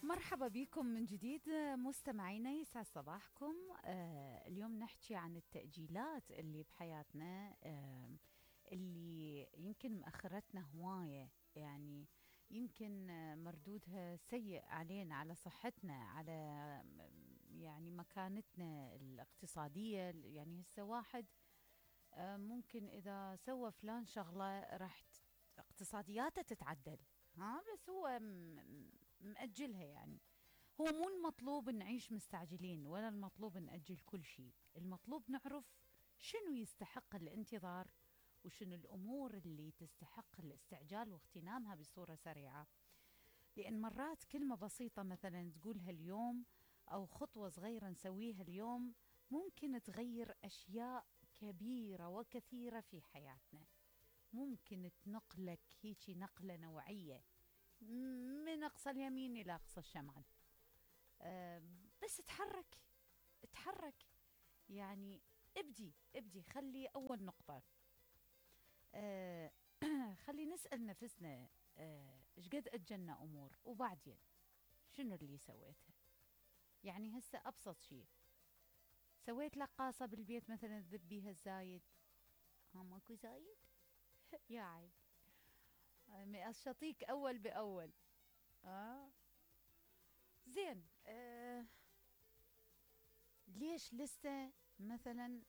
مرحبا بكم من جديد مستمعينا، يسعد صباحكم. اليوم نحكي عن التأجيلات اللي بحياتنا، اللي يمكن مأخرتنا هواية، يعني يمكن مردودها سيء علينا، على صحتنا، على يعني مكانتنا الاقتصادية. يعني هسه واحد ممكن إذا سوى فلان شغلة راح اقتصادياته تتعدل، ها، بس هو مأجلها. يعني هو مو المطلوب نعيش مستعجلين، ولا المطلوب نأجل كل شيء. المطلوب نعرف شنو يستحق الانتظار، وشنو الأمور اللي تستحق الاستعجال واغتنامها بصورة سريعة. لأن مرات كلمة بسيطة مثلا تقولها اليوم، أو خطوة صغيرة نسويها اليوم، ممكن تغير أشياء كبيرة وكثيرة في حياتنا. ممكن تنقلك هيجي نقلة نوعية من أقصى اليمين إلى أقصى الشمال. بس اتحرك. يعني ابدي خلي أول نقطة. خلي نسأل نفسنا ايش قد أجلنا أمور، وبعدين شنو اللي سويته. يعني هسه أبسط شيء، سويت لقاصة بالبيت مثلا تذب بيها الزايد. ماكو زايد يا عيل، أشطيك أول بأول. زين. ليش لسه مثلا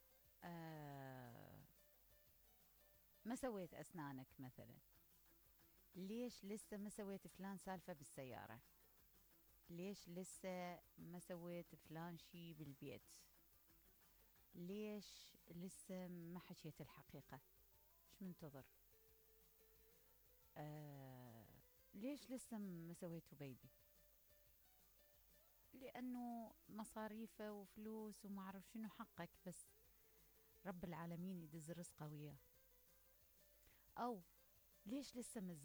ما سويت أسنانك مثلا؟ ليش لسه ما سويت فلان سالفة بالسيارة؟ ليش لسه ما سويت فلان شي بالبيت؟ ليش لسه ما حكيت الحقيقة؟ ايش منتظر؟ ليش لسه ما سويتوا بيبي؟ لأنه مصاريفه وفلوس وما أعرف شنو. حقك، بس رب العالمين يدز رزقه وياه. أو ليش لسه